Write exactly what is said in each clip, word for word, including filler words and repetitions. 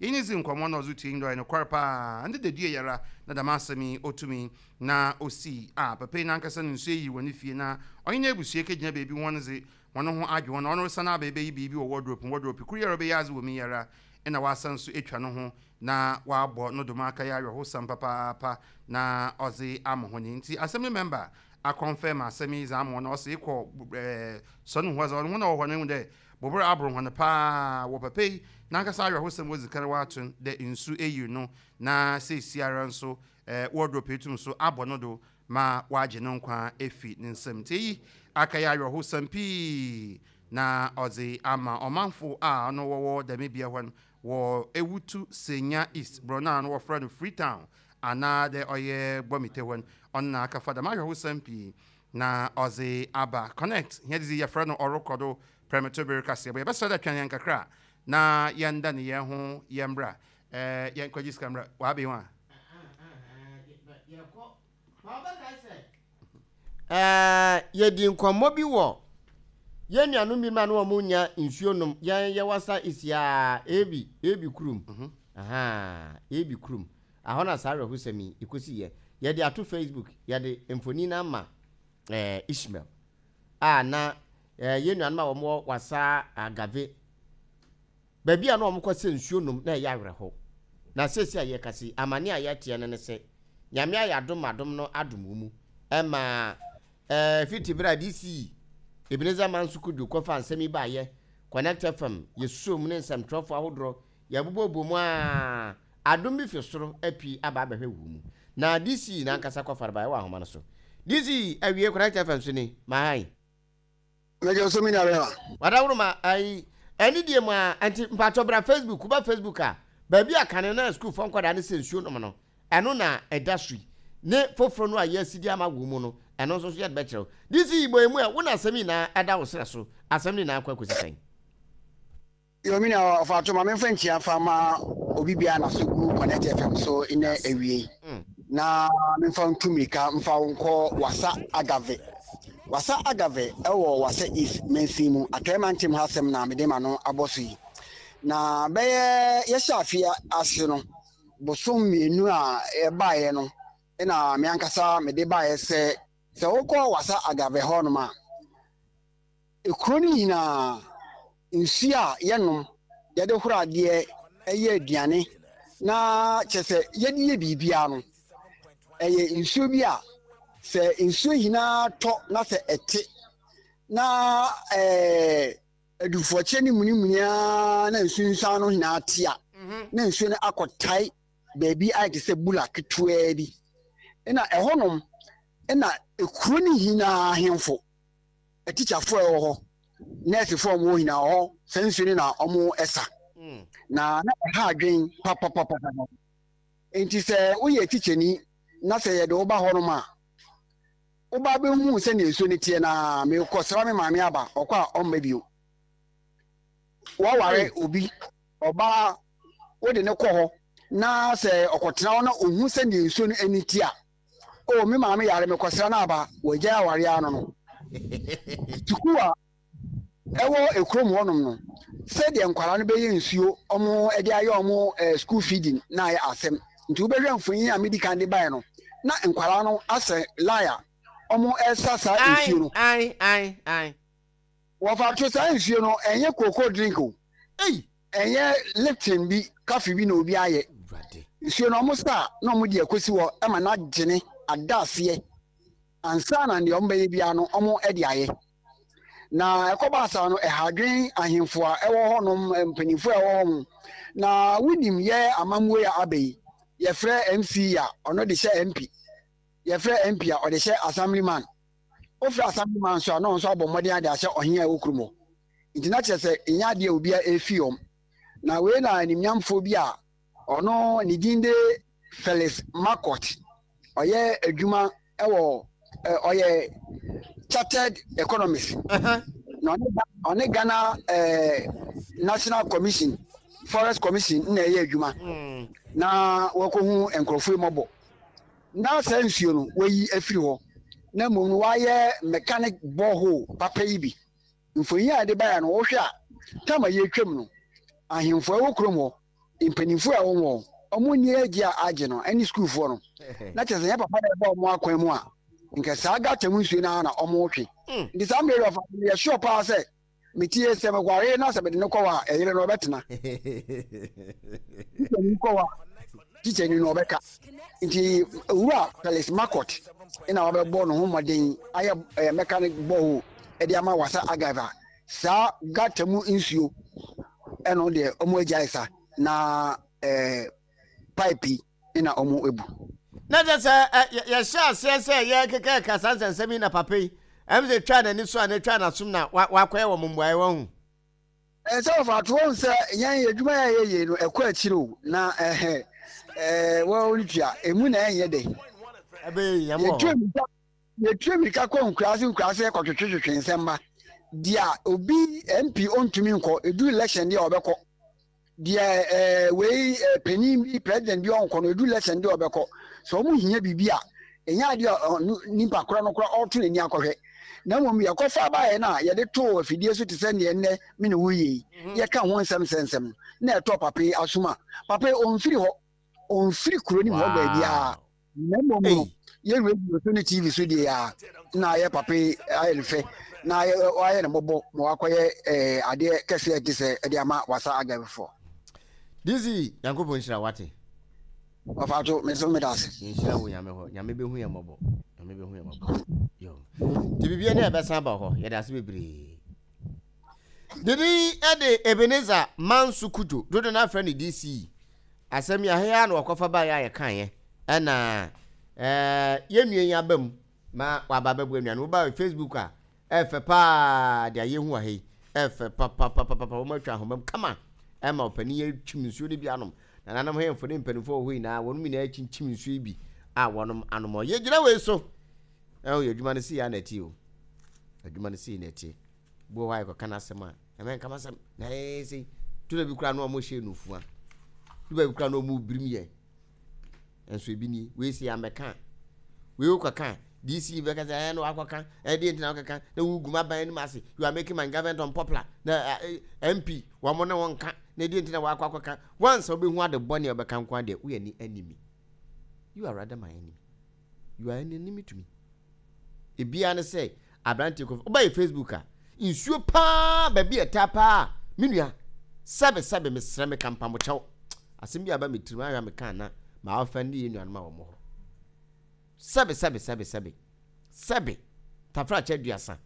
Yɛnye dzi nkɔmmɔ na ɔdze tue ndɔ nokwar paa ndeda dua yara na dɛm asɛm yi otumi na osii a papa yi nankasa no nsuo yi wɔ ne fie na ɔnye n'abusua kɛgyina beebi. Wɔn dze wɔn ho adwe wɔn, ɔno resan aba ebɛyi biribi wɔ wardrobe mu. Wardrobe kuru yɛrɛ ɔbɛyɛ adze wɔ mu yara ɛna wasan so atwa no ho na wabɔ no dom aka yɛ awerɛhosɛm papaapa na ɔdze ama hɔ ne. Nti assembly member akɔnfɛm asɛm yi dze ama wɔn na ɔsɛ ekɔ ɛɛ sɔne ho dze ɔno ho na ɔwɔ hɔ no ehu dɛ bobere aboro hɔn paa wɔ papa yi nankasa awerɛhosɛm wɔ kan wato dɛ nsu eyiri no na seesiara nso ɛɛ wardrobe etum so abɔ no do ma wagye no nkwa efi ne nsam. Nti eyi aka yɛ awerɛhosɛm pii na ɔdze ama ɔmanfo a ɔno wɔwɔ dɛm bea hɔ no wɔ Ewutu Senya East borɔ no a no wɔfrɛ no Freetown anaa dɛ ɔyɛ Gbɔmite hɔ no. Ɔno na akafa dɛm awerɛhosɛm pii na ɔdze aba. Connect hɛn dze yɛfrɛ no ɔrekɔ do prɛmɛto bere kaseɛ bɔ. Yɛbɛsrɛ dɛ twɛn yɛn kakra na yɛnda ne yɛn ho yɛn mbra ɛɛ yɛnkɔgye sika mbra wabe ho a. Ɛɛ yɛdi nkɔmmɔ bi wɔ yɛn nuanom bi ma no wɔn nya nsuo nom. Yɛn yɛ Wasa East ebi ebi kurom aha, ebi kurom ahɔ na saa awerɛhosɛm yi ekosi. Yɛ yɛde ato Facebook, yɛde mfonin na ama ɛɛ Ishmael a na ɛɛ yɛn nuanom a wɔn wɔ Wasa Agave baabi a na wɔn kɔ sɛ nsuo nom na ɛyɛ awerɛho. Na seesi a yɛkasi amane a yɛteɛ no ne sɛ Nyame ayɛ adom, adom no adom wɔ mu ɛma ɛɛ fiti bere a D C Ebenezer Manso Kudu kɔfa nsɛm yi baayɛ Connect F M, yɛsuo mu ne nsɛmtwerɛfoɔ ahodoɔ yɛbobɔbɔ mu a adom bi fi soro api aba abɛhwɛ wɔ mu na D C n'ankasa kɔfa no baayɛ wɔ ahoma no so. D C, awie Connect F M so ni mahan. Mɛgye so, mi nua bɛma. Wadaworo ma ayi ɛne deɛ mu a nti mpatwɔ bra Facebook. Woba Facebook a, baabi a kane na sukuufoɔ nkwadaa ne sɛ nsuo nom no, ɛno na ɛda so yi ne foforɔ no a yɛasi de ama wɔ mu no, ɛno nso so yɛde bɛkyerɛw. D C, bɔ emu a wo na asɛm nyinaa ɛda wo serɛ so, asɛm no nyinaa kɔ akɔsi sɛn? Yo, mi nua ɔfa ma memfa nkyia fa ma obi bia na so gu Connect F M so nnɛ awie Mm. na memfa ntu mmirika mfa wo nkɔ Wasa Agave. Wasa Agave ɛwɔ Wasa East mansin mu, Atɔe mantam ha. Asɛm na mede ma no abɔ so yi na bɛyɛ yɛhyɛ afe ase no bosom mmienu a ɛbaeɛ no ɛna me ankasa mede baeɛ sɛ sɛ wokɔ Wasa Agave hɔnom a, ekuro no nyinaa nsuo a yɛnom, yɛde horo adeɛ, ɛyɛ aduane na kyerɛ sɛ yɛde yɛ biribiara no, ɛyɛ nsuo bi a sɛ nsuo nyinaa tɔ na sɛ ɛte na ɛɛ adufoɔkyɛ ne munimuni na nsunsuan no nyinaa te a, na nsuo no akɔtae baabi ayɛ te sɛ bula ketewaa bi. Ɛna ɛhɔnom ɛna ekuro no nyinaa ahemfo, atikyafoɔ a ɛwɔ hɔ, nɛɛsefoɔ a wɔwɔ nyinaa hɔ, saa nsuo no na wɔn ɛsa Mm. na na ɛha adwen papapapa. Nti sɛ woyɛ tikyani na sɛ yɛde wo ba hɔnom a, woba bɛhu sɛnea nsuo no teɛ na mekɔsra me maame aba, ɔkɔ a ɔmma bio. Wɔware obi ɔbaa, wode ne kɔ hɔ na sɛ ɔkɔtena hɔ na ohu sɛnea nsuo no ani te a, o me maame yare, mekɔsra no aba, wɔagyae aware ano no. Sukuu a ɛwɔ ekurom hɔnom no, sɛdeɛ nkwadaa no bɛyɛ nsuo ɔmo de ayɛ ɔmo ɛɛ school feeding na ayɛ asɛm. Nti wobɛhwɛ mfonyin a medi kan de baeɛ no na nkwadaa no asɛ line a ɔmo ɛsa saa nsuo no. Ai ai ai. Wɔfa to saa nsuo no, ɛnyɛ cocoa drink o. Ei. Ɛnyɛ Lipton bi, coffee bi na obi ayɛ. Awurade. Nsuo no ɔmo sa na ɔmo de akɔsi hɔ ɛma n'agyene ada aseɛ ansa na deɛ ɔmo bɛyɛ biara no ɔmo de ayɛ. Na ɛkɔba asa no, ɛha adwen ahemfo a ɛwɔ hɔnom, mpanyinfo a ɛwɔ hɔ mo. Na wonim yɛ amammuo a aba yi, yɛfrɛ M C a ɔno de hyɛ M P, yɛfrɛ M P a ɔde hyɛ assemblyman, wofrɛ assemblyman nso a na ɔno nso abɔ mmɔden ade ahyɛ ɔhen a ɛwɔ kurom hɔ. Nti na kyerɛ sɛ ɛnyɛ adeɛ a obiara efi wɔm. Na wei na animnyamfoɔ bi a ɔno ne din de Felix Makot, ɔyɛ adwuma ɛwɔ ɛ ɔyɛ chartered economist na ɔne ɔne Ghana ɛɛ National Commission, Forest Commission na ɛyɛ adwuma Mm. na wɔkɔhu nkurɔfoɔ yi mmɔbɔ na saa nsuo no wɔyi afiri hɔ na mmom no wɔayɛ mechanic borehole papa yi bi. Mfonyin a yɛde baeɛ no, wohwɛ a tam a yɛretwam no, ahemfo a ɛwɔ kurom hɔ, Mpanimfoɔ a wɔwɔ ɔmo nni agye a agye no ɛne sukuufoɔ no na kyerɛ sɛ nyɛ papa na ɛbɔ ɔmo akwan mu a, nka saa gutter mu nsuo no ara na ɔmo twe. Nti saa mmerɛ yi ɔfa yɛ sure paa sɛ metie sɛ mekware na sɛ mede no kɔ hɔ a, ɛyere no ɔbɛtena. Tikyani kɔ hɔ a, tikyani no ɔbɛka. Nti owura Felix Makot na wabɛbɔ ne ho mmɔden ayɛ ɛɛ mechanic borehole ɛde ama Wasa Agava. Saa gutter mu nsuo ɛno deɛ, ɔmo agyae sa na ɛɛ pipe yi na ɔmo ebu. Na kyɛ sɛ yɛhyɛ aseɛ sɛ yɛkeka ka saa nsɛnsɛm yi na papa yi ɛm sɛ twa n'ani so a na twa n'asom na wakɔyɛ wɔ mo mmuaeɛ wahu. Sɛ wɔfa ato wɔn sɛ yɛn adwuma yɛ yɛyɛ no ɛkɔ akyire o, na ɛhɛ ɛɛ wɔn tua emu na ɛnyɛ dɛ. Ɛbɛyɛ yɛn wɔ hɔ. Yɛtu mirika kɔ nkuraase nkuraase kɔtwetwetwe nsɛm ba deɛ obi M P ɔntumi nkɔ, edu election deɛ ɔbɛkɔ deɛ ɛɛ wei ɛɛ panyin bi, president bi ɔnkɔ no, edu election deɛ ɔbɛkɔ. Sɛ wɔn hia biribi a, ɛnyɛ adeɛ a nipa korɔ no korɔ ɔreto n'ani akɔhwɛ, na mmom yɛkɔfa baeɛ no a yɛde too afidie so te sɛ neɛ nnɛ me ne wo yie yi, yɛka ho nsɛm sɛnsɛm na ɛtɔ papa yi asom a, papa yi ɔmfiri hɔ, ɔmfiri kuro no mu hɔ baabiara, na mmom no yɛ radio so ne T V so deɛ a na ayɛ papa yi ayɛ no fɛ na ayɛ no mmɔbɔ ma wakɔyɛ ɛɛ adeɛ kɛseɛ te sɛ ɛde ama Wasa Agavefoɔ. D C, Nyankopɔn nhyira wate. Ɔfa to me nso meda ase. Nhyira wo Nyame hɔ. Nyame bɛhu yɛ mmɔbɔ, Nyame bɛhu yɛ mmɔbɔ. Yo, nti biribia ne ɛbɛsan ba hɔ. Yɛde ase bebree. Didi ɛde Ebenezer Manso Kujo dodo no afrɛ no D C. Asɛm yi ahea na wɔkɔfa baeɛ a yɛkaeɛ ɛna ɛɛ yɛnnua yi aba mu ma waba bɛboa nnuane. Woba Facebook a, ɛfɛ paa de ayɛ hu wɔ ha yi, ɛfɛ papapapapa. Wɔn atwa ahoma mu kama ɛma ɔpanin yɛ twim nsuo no bi anom. Nananom hemfo ne mpanimfoɔ wɔ hɔ nyinaa, wɔn nyinaa kyinkyim nsuo yi bi a wɔnom anom. Yɛgyina wei so ɛwɔ yɛ adwuma no si yɛ anati o, adwuma no si yɛ n'akyi bu hɔ a yɛkɔka n'asɛm a ɛmɛ nkama sɛm na ɛyɛ sɛ tuna bi koraa na wɔn hyɛ nufua tuna bi koraa na wɔn birim yɛ nso ebi ni wei si amɛka wei kɔka D C bɛka sɛ ɛyɛ no wakɔka ɛdeɛ ntina wakɔka na wugu ma ban anim ase, you are making my government unpopular, na M P wɔn ne wɔn nka na ɛdeɛ ntina wakɔ akɔka. Once wobɛhu ade bɔne a wɔbɛka nko adeɛ, woyɛ ne enemy. You are rather my enemy, you are an enemy to me. Ebiara ne sɛ aberante kɔ wobayɛ Facebook a, nsuo paa baabi a ɛtaa paa. Me nua, sɛbe sɛbe, mesrɛ me kampamokyɛw, asɛm bi aba me tirim ahwɛ a meka na maa ɔfɛ ne yɛ nuanom a wɔn hɔ. Sɛbe sɛbe sɛbe sɛbe sɛbe, tafrakyɛ aduasa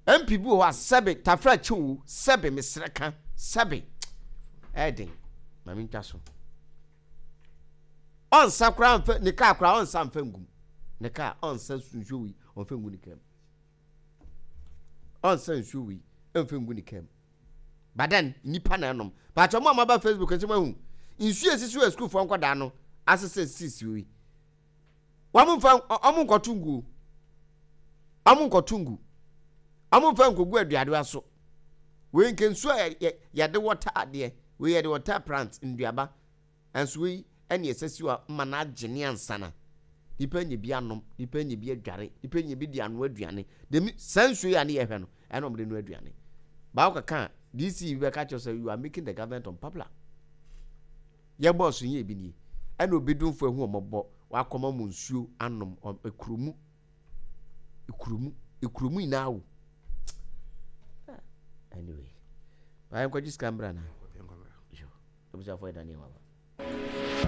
M P bi wɔ hɔ a, sɛbe tafrakyɛ o, sɛbe mesrɛ ka sɛbe, ɛɛden maame ntwa so, ɔnsa koraa nfɛ ne kaa koraa, ɔnsa nfɛ ngum ne kaa, ɔnsa nsuo wi ɔnfɛ ngu ne kaa mu, ɔnsa nsuo wi ɔnfɛ ngu ne kaa mu. But then nipa na ɛnom bàtɛ ɔmo a mo aba Facebook nso mo ahu nsuo esisi wɔ sukuufoɔ nkɔdaa no asesɛ sisi wi, wɔn nfa ɔmo nkɔto ngu, ɔmo nkɔto ngu, ɔmo nfa nkogu aduadewa so. Wei nke nsuo a yɛde wɔta adeɛ wei, yɛde wɔta plant nduaba nso. Wei ɛne ɛsɛ si hɔ ma n'agye ne ansana nipa nye bi anom, nipa nye bi adware, nipa nye bi de anoa aduane. Demi saa nsuo yi a ne yɛhwɛ no ɛna ɔmo de noa aduane. Baako kaka D C bi bɛka kyerɛ sɛ you are making the government unpopular. Yɛ bɔɔso yɛ ebi nie ɛna obi dunfo ehu ɔmɔbɔ wakɔma mu nsuo anom ekuromu ekuromu ekuromu nyinaa wo. Anyway, báyìí nkɔgye sika mbra na abusuafo yɛ daniel waba.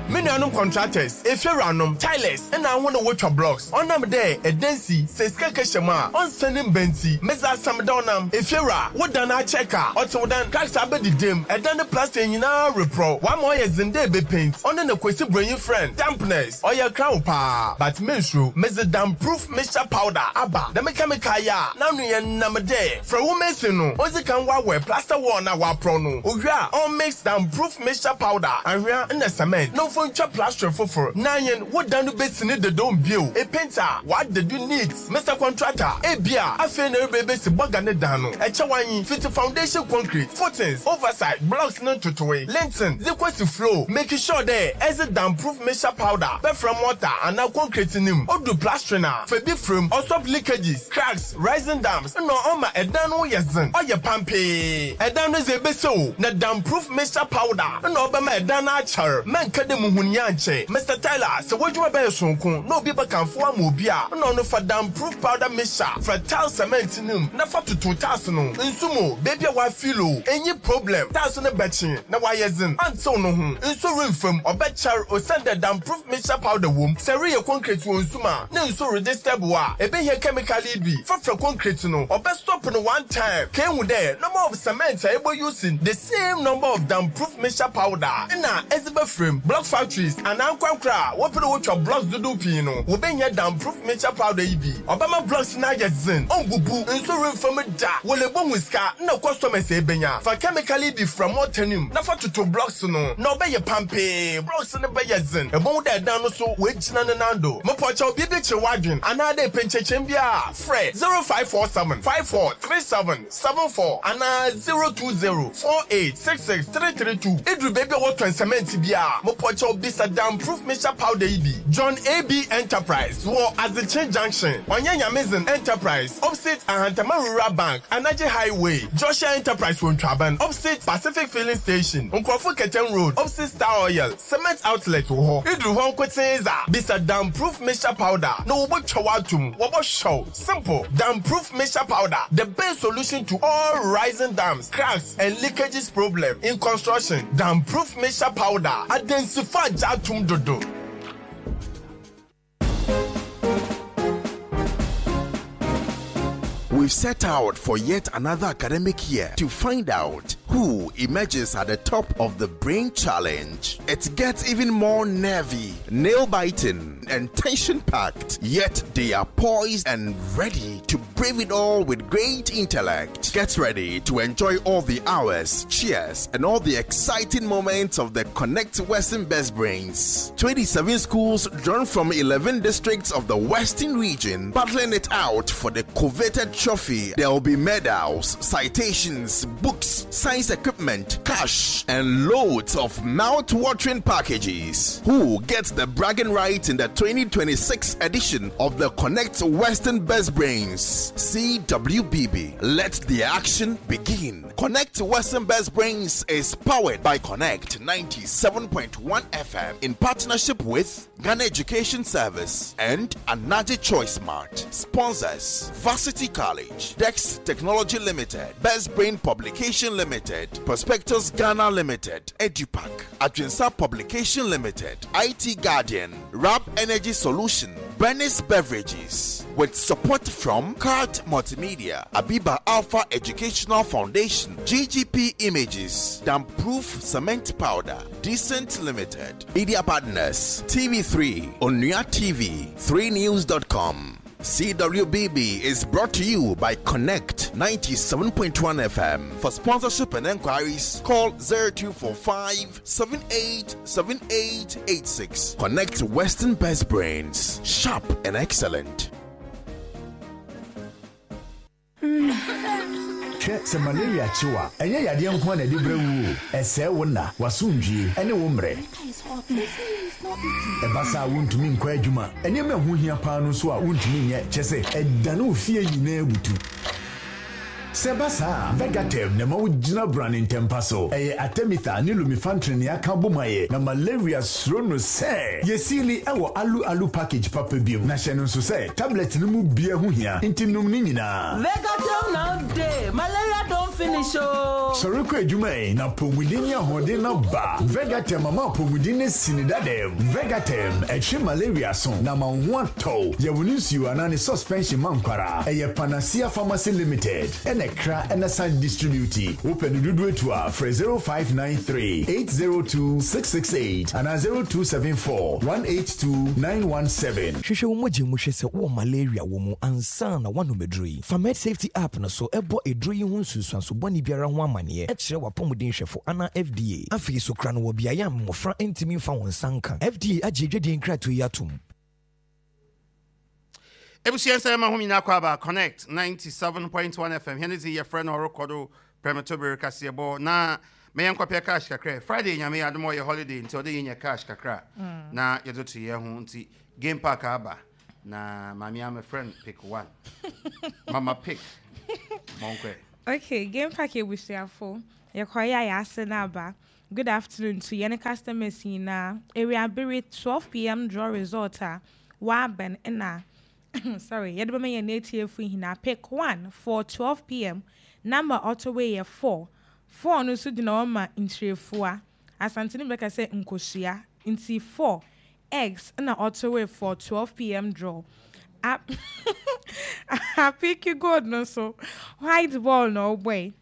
Me nuanom contractors, efiewuranom, tilers, ɛna ahɔn a wotwa blocks, ɔnam dɛ ɛdansi sɛ sika kɛhyɛ mu a ɔnsa ne mba nti, medze asɛm da ɔnam efiewura wodan akyɛ ka ɔte wo dan cracks abɛdidam, ɛdan ne plaster nyinaa reporɔ wama ɔyɛ dzen dɛ ebe paint. Ɔno na Kwesi Bronyi friend dampness ɔyɛ crown paa, but mensuro, medze damp proof mixture powder aba. Dɛm chemical yi a n'ano yɛ nam dɛ frɛ wo mason no ɔdzi kan wawɛ plaster wall na waporɔ no owie a, ɔmix damp proof mixture powder, ahwea ne cement na Wɔmfa ntwa plastering foforɔ na yɛn wo dan no bɛsi ne deda bio. E painter wadeda neat. Mister Contractor, ebia afei na ɛreba bɛsi bɔga ne dan no. Ɛkyɛ wanyi fiti foundation, concrete, footings, oversight, blocks ne ntotoe, lintel, zikosi floor. Make sure dɛ ɛdze damproof mixture powder bɛfra mortar anaa concrete nim. Odu plastering a, fa bi firim. Ɔstop leakages, cracks, rising dams, na ɔma ɛdan no yɛ zen. Ɔyɛ pampee. Ɛdan no dze ebesi o na damproof mixture powder na ɔbɛma ɛdan no akyɛr. Mɛnka dɛ muhun yɛ ankyɛ. Mister Tyler, sɛ w'adwuma bɛyɛ sonko na obi bɛkamfo ama obi a, na ɔno fa damproof powder mixture fra tile cement nim na fa toto tiles no. Nsu mu beebi a wafeel o, enyi problem. Tiles no bɛkye na wayɛ zen. Antew no ho. Nsu remfam, ɔbɛkyɛr osiane dɛ damproof mixture powder wom. Sɛ reyɛ concrete wɔ nsu mu a, ne nsu redisturb wo a, ebehia chemical yi bi. Fafra concrete no, ɔbɛstop no one time. Kehu dɛ number of cement a ebo using the same number of damproof mixture powder na ɛdze bɛfrem. Block factories anaa nkwankora a wɔpɛ dɛ wotwa blocks dodow pii no, wɔbɛnya damproof mixture powder yi bi. Ɔbɛma blocks no ayɛ zen, ɔmbubu, nsu remfam da. Wɔle bohu sika na customers ebenya. Fa chemical yi bi fra mortar nim na fa toto blocks no na ɔbɛyɛ pampee. Blocks no bɛyɛ zen. Ɛbɛhu dɛ ɛdan no so wɔagyina ne nan do. Mepɔkyɛw biribi kyerɛ w'adwen anaa dɛ pɛnkyɛkyɛm bi a, frɛ zero five four seven five four three seven seven four anaa zero two zero four eight six six three three two. Iduru baabi a wɔtɔn cement bi a, mopɔkyɛw bisa damproof mixture powder yi bi. John A B Enterprise wɔ Azekye Junction, Ɔnyɛ Nyamezin Enterprise opposite Ahantama Rural Bank, Anagye Highway, Joshua Enterprise wɔ Ntwaban opposite Pacific Filling Station, Nkurɔfo Kɛtɛn Road opposite Star Oil Cement Outlet wɔ hɔ. Iduru hɔ nkotee za bisa damproof mixture powder na wɔbɛtwa w'atom, wɔbɛhyɛw. Simple. Damproof mixture powder, the best solution to all rising dams, cracks and leakages problem in construction. Damproof mixture powder, adensifo agya atom dodo. We've set out for yet another academic year to find out who emerges at the top of the Brain Challenge. It gets even more nervy, nail biting, and tension packed, yet they are poised and ready to brave it all with great intellect. Get ready to enjoy all the hours, cheers, and all the exciting moments of the Connect Western Best Brains. twenty-seven schools drawn from eleven districts of the Western region battling it out for the coveted trophy. There will be medals, citations, books, science equipment, cash, and loads of mouth-watering packages. Who gets the bragging right in the twenty twenty-six edition of the Connect Western Best Brains? C W B B. Let the action begin. Connect Western Best Brains is powered by Connect ninety-seven point one F M in partnership with Ghana Education Service and Anaji Choice Mart. Sponsors: Varsity College, Dex Technology Limited, Best Brain Publication Limited, Prospectus Ghana Limited, EduPack, Adwinsa Publication Limited, I T Guardian, Rab Energy Solution, Bernice Beverages, with support from Card Multimedia, Abiba Alpha Educational Foundation, G G P Images, Damproof Cement Powder, Decent Limited, Media Partners, T V three, Onua T V, three news dot com. C W B B is brought to you by Connect ninety-seven point one F M. For sponsorship and enquiries, call zero two four five seven eight seven eight eight six. Connect Western Best Brains, sharp and excellent. Hwɛ, sɛ malaria kyew a, ɛnyɛ yadeɛ nko a na ɛde brɛ wo o. Ɛsɛe wo nna, w'asomdwie ɛne wo mmerɛ. Ɛba saa a, wontumi nkɔ adwuma. Nneɛma ɛho hia paa no nso a wontumi nyɛ, kyɛ sɛ ɛdane wo fie nyinaa butu. Sɛ ɛba saa a, Vegatem na ɛma wogyina brane ntɛmpa so. Ɛyɛ artemether ne lumefantrine ne aka bom ayɛ na malaria suro no. Sɛ yɛsiili ɛwɔ alu alu package papa bi mu, na hyɛ no nso sɛ tablet no mu bia ho hia, nti nom ne nyinaa. Vegatem now dey. Malaria don finish oh. Sɔre kɔ adwuma yi na apɔmuden ne ahoɔden no ba. Vegatem ama apɔmuden no si ne dadam. Vegatem ɛtwe malaria so na ma wo ho atɔw. Yɛwo ne nsuo anaa ne suspension ma nkwara. Ɛyɛ Panacea Pharmacy Limited ɛna kra ɛna san distribute. Wopɛ no dodo etu a, frɛ zero five nine three eight zero two six six eight anaa zero two seven four one eight two nine one seven. Hwehwɛ wo mogya mu hwɛ sɛ wowɔ malaria wɔ mu ansa na woanom aduro yi. Fa Med Safety app no so ɛbɔ aduro yi ho nsunsuanso. nsunsuanso bɔne biara ho amanneɛ kyerɛ w'apɔmuden hwɛfo anaa F D A. Afei so kora no wɔ beaeɛ a mmɔfra ntumi mfa wɔn nsa nka. F D A agye adwadie nkratoɔ yi atom. Ebusua, nsɛm ma ho nyinaa kɔ aba Connect ninety-seven point one F M. Hɛn dze yɛfrɛ no ɔrekɔ do prɛmtober kaseɛbɔ na mɛyɛ nkɔpɛ cash kakra. Friday, Nyame yɛ adom a, ɔyɛ holiday nti ɔde yɛnya cash kakra na yɛde to yɛn ho. Nti game park aba na maame ama friend pick one, mama pick mɔnkɛ. Okay, Game Park ebusuafo, yɛkɔyɛ a yɛase no aba. Good afternoon to yɛne customers nyinaa. Area bere twelve p m draw result a wabɛn ɛna, sorry, yɛde bɛma yɛn atiefo nyinaa. Pick one for twelve p m, number ɔtɔ wei yɛ four. Four no nso gyina hɔ ma nkyerɛfua, Asante no bɛka sɛ nkosua, nti four eggs ɛna ɔtɔ wei for twelve p m draw. Apiki gold no so, white ball na ɔbɔe,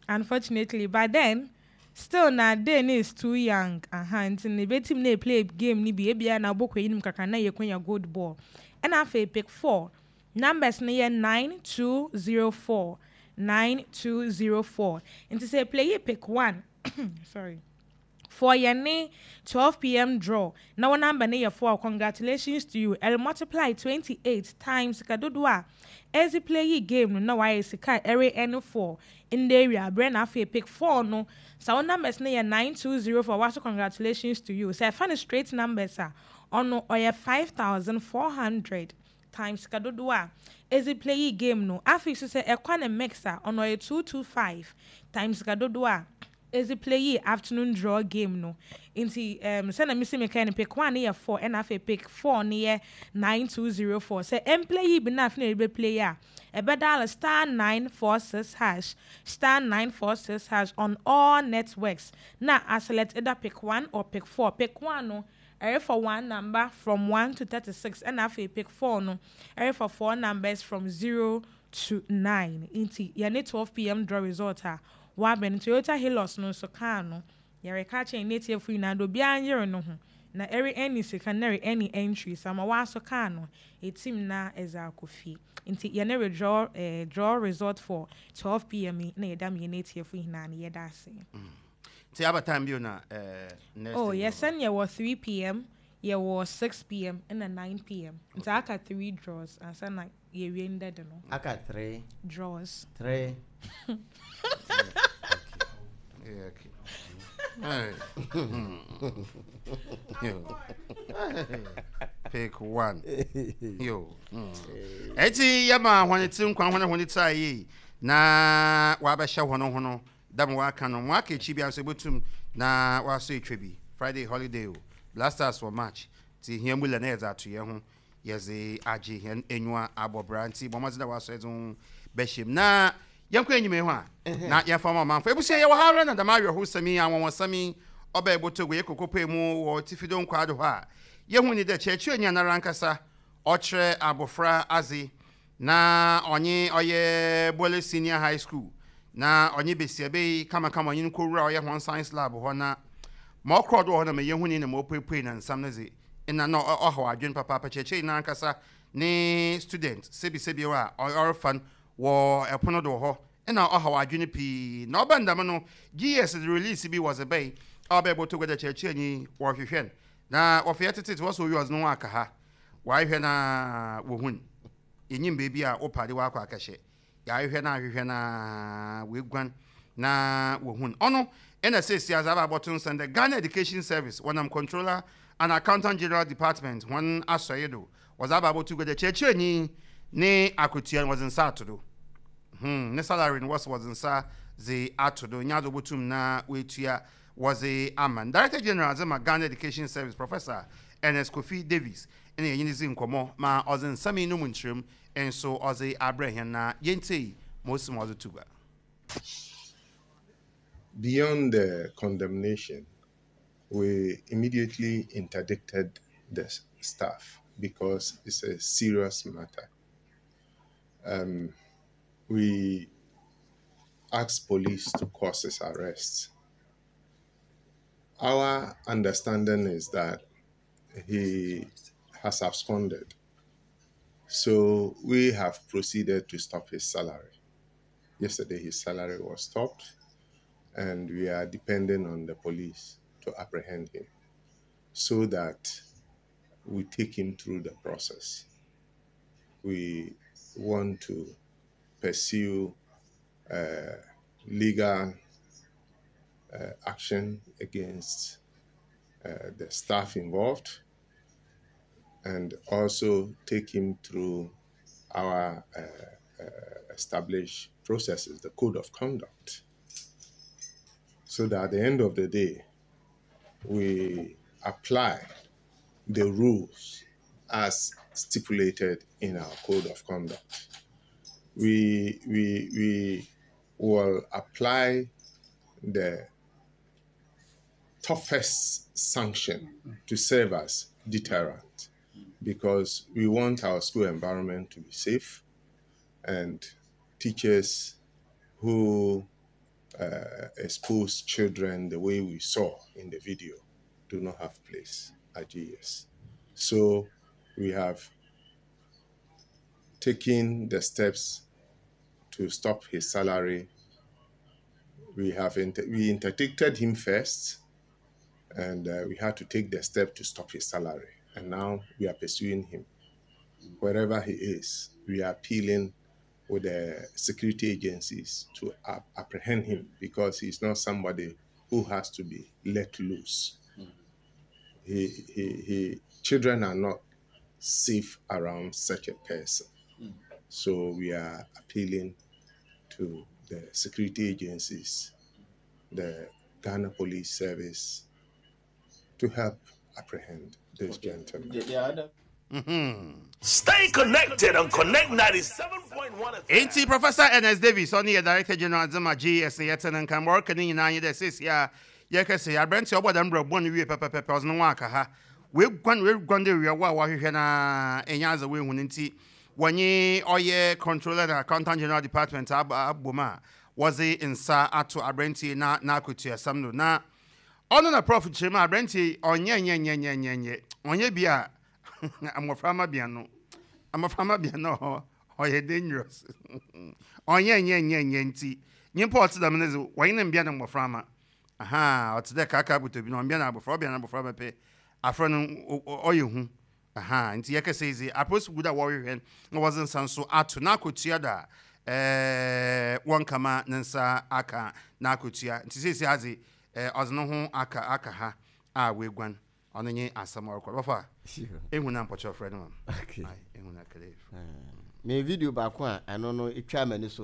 unfortunately, but then still na day no is too young aha, nti na ebetim na play game ni bi ebia na abɔkɔ eyinom kakra na yɛ konya gold ball. Ɛna afei pick four, numbers no yɛ nine two zero four, nine two zero four. Nti sɛ play pick one, sorry, for yɛne twelve p m draw na wɔn number no yɛ four, congratulations to you. Ɛrɛ multiply twenty-eight times sika dodoɔ a ɛdze play yi game no na wayɛ sika ɛre ɛne four in the area abirɛ. Na afei pick four no sa, wɔn numbers no yɛ nine two zero four, waso congratulations to you. Sɛ ɛfa no straight numbers a, ɔno ɔyɛ five thousand four hundred times sika dodoɔ a ɛdze play yi game no. Afei so sɛ ɛkwa ne mix a, ɔno ɔyɛ two two five times sika dodoɔ a ɛdze play yi afternoon draw game no. Nti um, sɛna mesi meka no, pick one yɛ four, ɛna afei pick four no yɛ nine two zero four. Sɛ ɛmplay yi bi na afei na ɛbɛ play a, ɛbɛdial star nine four six hash, star nine four six hash on all networks na aselect either pick one or pick four. Pick one no ɛyɛ for one number from one to thirty-six, ɛna afei pick four no ɛyɛ for four numbers from zero to nine. Nti yɛne twelve p m draw result a wabɛn. Toyota Hilux no nso, kaa no yɛreka kyɛn ne tiefo nyinaa do, obiara nyere no ho na ɛre ɛni sika na ɛre ɛni entry sama waso kaa no etim na ɛdze akɔ fie. Nti yɛne redraw ɛɛ eh, draw result for twelve p m yi na yɛda mu yɛne tiefo nyinaa no, yɛda ase. Nti aba time bio na ɛɛ next. Oh yes, sɛn yɛwɔ three p m, yɛwɔ six p m ɛna nine p m. Nti aka three draws ansa na yɛwie ndɛde no. Aka three draws. Three. Yeah, okay. Hey. Yo. Pick one. Yo. Mm. Eti yɛma hɔn ti nkwa, hɔn hɔn ti ayɛ na wabɛhyɛ hɔn ho no dam waka no mo aka akyi bi nso ebotum na wasɔ etwa bi. Friday holiday o, Blasters wɔ match ti hia mu lɛ na yɛdze ato yɛn ho, yɛdze agye hɛn enyiwa abɔ bra. Nti bɔn mɔdze dɛ wasɔ yɛdze ho bɛhyɛ mu na yɛnkɔ enyim yi ho a na yɛmfa ma ɔmanfo. Ebusua, yɛwɔ ha ara na dɛm awerɛhosɛm yi, anwanwasɛm yi ɔbɛn Botogo yɛ kokopoe mu wɔ Tifido Nkwado hɔ a yɛhu ni dɛ kyerɛkyerɛni anara ankasa ɔkyerɛ abɔfra adze na ɔnye ɔyɛ Bole Senior High School na ɔnye besiaba yi kamakama ɔnye no kɔwura ɔyɛ hɔn science lab hɔ na ma ɔkorɔ do wɔ hɔ na ma yɛhu ni na ma ɔpuepue na nsam no dze ɛna na ɔhaw adwene papaapa. Kyerɛkyerɛni n'ankasa ne student sebisebi a ɔrefa no wɔ ɛpono do wɔ hɔ ɛna ɔhaw adwene pii. Na ɔba ndam no G E S de release bi wɔ dze bɛyi a ɔbɛyɛ bɔtɔ gua kyerɛkyerɛni wɔhwehwɛ no na wɔfɛ tete wɔsɔ owi ɔdze no ho aka ha wɔahwehwɛ na wɔhun yɛnyim beebi a wopade wakɔ akɛhyɛ. Yɛahwehwɛ na ahwehwɛ na wɔaguan na wɔhun ɔno. Ɛna seesia adze aba abɔto nsɛn dɛ Ghana Education Service wɔnam Controller and Accountant General Department wɔn asɔre do wɔdze aba abɔto gua dɛ kyerɛkyerɛni ne akotua no wɔdze nsa ato do. hmm ne salary no wɔsɛ wɔdze nsa dze ato do nya adze obotum na wɔatua wɔdze ama no. Director General adze ma Ghana Education Service, Professor Ernest Kofi Davis, ɛna yɛnye ne dzi nkɔmmɔ ma ɔdze nsɛm yi no mu nkyerɛm nso ɔdze abrɛ hɛn na yɛntie ma osi ma ɔdze to gua. Beyond the condemnation, we immediately interdicted the staff because it's a serious matter. Um, we asked police to cause his arrest. Our understanding is that he has absconded. So we have proceeded to stop his salary. Yesterday, his salary was stopped, and we are depending on the police to apprehend him so that we take him through the process. We want to pursue uh, legal uh, action against uh, the staff involved and also take him through our uh, uh, established processes, the code of conduct, so that at the end of the day, we apply the rules as stipulated in our code of conduct. We, we, we will apply the toughest sanction to serve as deterrent because we want our school environment to be safe and teachers who uh, expose children the way we saw in the video do not have place at GES. So we have taken the steps to stop his salary. We have inter- we interdicted him first, and uh, we had to take the step to stop his salary. And now we are pursuing him. Wherever he is, we are appealing with the security agencies to ap- apprehend him because he's not somebody who has to be let loose. He, he, he, children are not safe around such a person. So we are appealing to the security agencies, the Ghana Police Service, to help apprehend this gentleman. Mm-hmm. Stay connected on Connect ninety-seven point one. Enti Professor Ernest Davis, ɔne yɛ Director General Zema G S yɛte ne nka ma ɔreka ne nyinaa nye dɛ seesie a yɛkɛsɛ aberɛnte ɔbɔ dɛm brɛ bɔ no wie pɛpɛpɛpɛ, ɔse ne ho aka ha, weguan weguan de wiawo a wahwehwɛ na ɛnyɛ adze wehu no, nti wɔnye ɔyɛ Controller and Accountant General Department abom a wɔdze nsa ato aberɛnte na n'akotuasɛm no. Na ɔno na Prof kyerɛ mu a aberɛnte ɔnyɛ nyɛ nyɛ nyɛ nyɛ nyɛ ɔnyɛ bi a mmɔframma bea no, mmɔframma bea no ɔyɛ dangerous, ɔnyɛ nyɛ nyɛ nyɛ. Nti nyimpa ɔte dɛm no dze, wɔnye ne mbea no mmɔframma aha, ɔte dɛ kaka buto bi na ɔmbea no abɔfra, ɔbea no abɔfra bɛpɛ afra no ɔyɛ hu aha. Nti yɛkɛsɛ yi dze apolisi gu da wɔrehwɛ na wɔdze nsa nso ato n'akotua da ɛɛ wɔnkama ne nsa aka n'akotua. Nti seesi adze ɛɛ ɔdze ne ho aka aka ha a weguan, ɔno nye asɛm a ɔrekɔ bɔfa ehu na mpɔkyɛ ɔfrɛ no ma ehu na kele. Me video baako a ɛno no etwa m'ani so.